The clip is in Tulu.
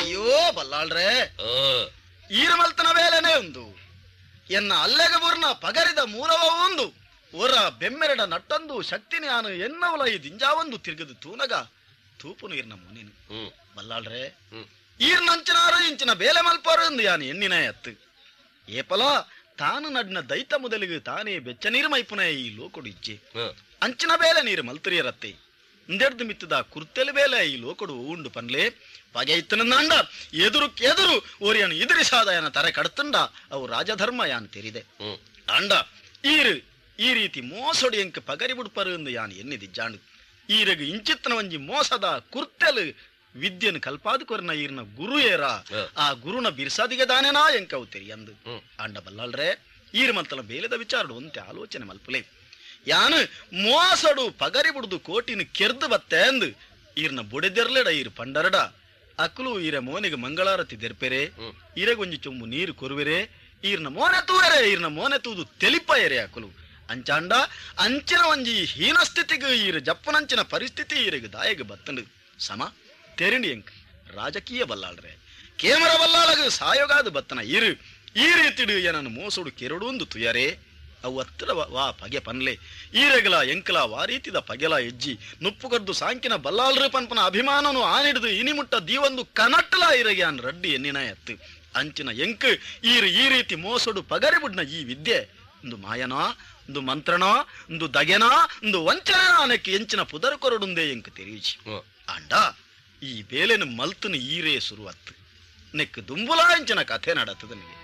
ಅಯ್ಯೋ ಬಲ್ಲಾಳ್ರೆ, ಈರಮಲ್ತನ ಬೇಲೆನೇ ಉಂದು ಎನ್ನ ಅಲ್ಲೆಗ ಬುರ್ನ ಪಗರಿದ ಮೂಲವ ಉಂದು ಒರ ಬೆಮ್ಮೆರಡ ನಟ್ಟಂದು ಶಕ್ತಿ ಜ್ಞಾನ ಎನ್ನವಲ ಈ ದಿಂಜಾವಂದು ತಿರುಗದು ತೂನಗ ತೂಪುನು ಈರ್ನ ಮುನಿನು. ಬಲ್ಲಾಳ್ರೆ, ಈರ್ನಂಚಿನಾರು ಇಂಚಿನ ಬೇಲೆ ಮಲ್ಪಾರು ಎಂದು ಯಾನು ಎಣ್ಣಿನ ಎತ್ತು ಏಪಲ ತಾನು ನಡ್ನ ದೈತ ಮೊದಲಿಗೆ ತಾನೇ ಬೆಚ್ಚ ನೀರು ಮೈಪುನ ಈ ಲೋಕೊಡು ಇಜ್ಜೆ ಅಂಚಿನ ಬೇಲೆ ನೀರು ಮಲ್ತರಿಯರತ್ತೆ ಇಂದೆಡ್ದು ಮಿತ್ತದ ಕುರ್ತೆಲು ಬೇಲೆ ಈ ಲೋಕೊಡು ಉಂಡು ಪನ್ಲೆ ಪಗೆ ಇತ್ತನಂದ ಎದುರು ಎದುರು ಓರಿಯನು ಎದುರಿಸಾದಯನ ತರೆ ಕಡ್ತುಂಡ ಅವು ರಾಜಧರ್ಮ ಯಾನ್ ತೆರಿದೆ. ಅಂಡ ಈರು ಈ ರೀತಿ ಮೋಸೊಡಿ ಎಂಕ್ ಪಗರಿ ಬುಡ್ಪರು ಎಂದು ಯಾನ್ ಎನ್ನಿದಿಜ್ಜಾಂಡು. ಈರಗು ಇಂಚಿತ್ತನ ಒಂಜಿ ಮೋಸದ ಕುರ್ತೆಲು ವಿದ್ಯೆನು ಕಲ್ಪಾದು ಕೊರ್ನ ಈರ್ನ ಗುರು ಏರ ಆ ಗುರುನ ಬಿರ್ಸಾದಿಗೆ ದಾನೆನಾ ಎಂಕವು ತೆರಿಯಂದು. ಅಂಡ ಬಲ್ಲಾಳ್ರೆ, ಈರು ಮಲ್ತಲ ಬೇಲೆದ ವಿಚಾರಡು ಒಂತೆ ಆಲೋಚನೆ ಮಲ್ಪುಲೆ. ಯಾನು ಮೋಸಡು ಪಗರಿ ಬುಡ್ದು ಕೋಟಿನ ಕೆರ್ದು ಬತ್ತೆ ಅಂದು ಈರ್ನ ಬುಡೆದೆರ್ಲೆಡ ಈರು ಪಂಡರಡ ಅಕ್ಲು ಈರ ಮೋನಿಗೆ ಮಂಗಳಾರತಿ ದೆರ್ಪೆರೆ, ಈರಗೊಂಜಿ ಚೊಂಬು ನೀರು ಕೊರುವೆರೆ, ಈರ್ನ ಮೋನೆ ತೂವೆರೆ, ಈರ್ನ ಮೋನೆ ತೂದು ತೆಲಿಪಯರೆ ಅಕುಲು. ಅಂಚಾಂಡ ಅಂಚಿನ ಒಂಜಿ ಹೀನ ಸ್ಥಿತಿಗೆ ಈರು ಜಪ್ಪನಂಚಿನ ಪರಿಸ್ಥಿತಿ ಈರಿಗೆ ದಾಯಗ ಬತ್ತಂಡು ಸಮ ತೆರಿಂಡಿ ಎಂಕ್ ರಾಜಕೀಯ ಬಲ್ಲಾಳ್ರೆ ಕೇಮರ ಬಲ್ಲಾಳಗ ಸಾಯೋಗಾದು ಬತ್ತನ ಈರು ಈ ರೀತಿಡು ಏನನ್ನು ಮೋಸೋಡು ಕೆರಡು ಒಂದು ತುಯರೆ ಅವು ಹತ್ತಿರ ವಾ ಪಗೆ ಪನ್ಲೆ ಈರೆಗಲ ಎಂಕಲ ವಾರೀತಿದ ಪಗೆಲ ಎಜ್ಜಿ ನುಪ್ಪು ಕದ್ದು ಸಾಂಕಿನ ಬಲ್ಲಾಳ್ರು ಪನ್ಪನ ಅಭಿಮಾನನು ಆನಿಡ್ದು ಇನಿಮುಟ್ಟ ದೀವೊಂದು ಕನಟ್ಟಲ ಈರಗೆ ಅನ್ ರಡ್ಡಿ ಎನ್ನಿನ ಎತ್ತು ಅಂಚಿನ ಎಂಕ್ ಈರು ಈ ರೀತಿ ಮೋಸೋಡು ಪಗರಿ ಬುಡ್ನ ಈ ವಿದ್ಯೆ ಒಂದು ಮಾಯನೋ ಒಂದು ಮಂತ್ರನೋ ಒಂದು ದಗೆನೋ ಒಂದು ವಂಚನ ಅನಕ್ಕೆ ಎಂಚಿನ ಪುದರ್ ಕೊರಡುಂದೇ ಎಂಕ್ ತೆರೀಜಿ. ಅಂಡ ಈ ಬೇಲೆನು ಮಲ್ತನು ಈರೇ ಸುರುವತ್ತು ನೆಕ್ ದುಂಬುಲಾ ಎಂಚಿನ ಕಥೆ ನಡತದ ನನಗೆ.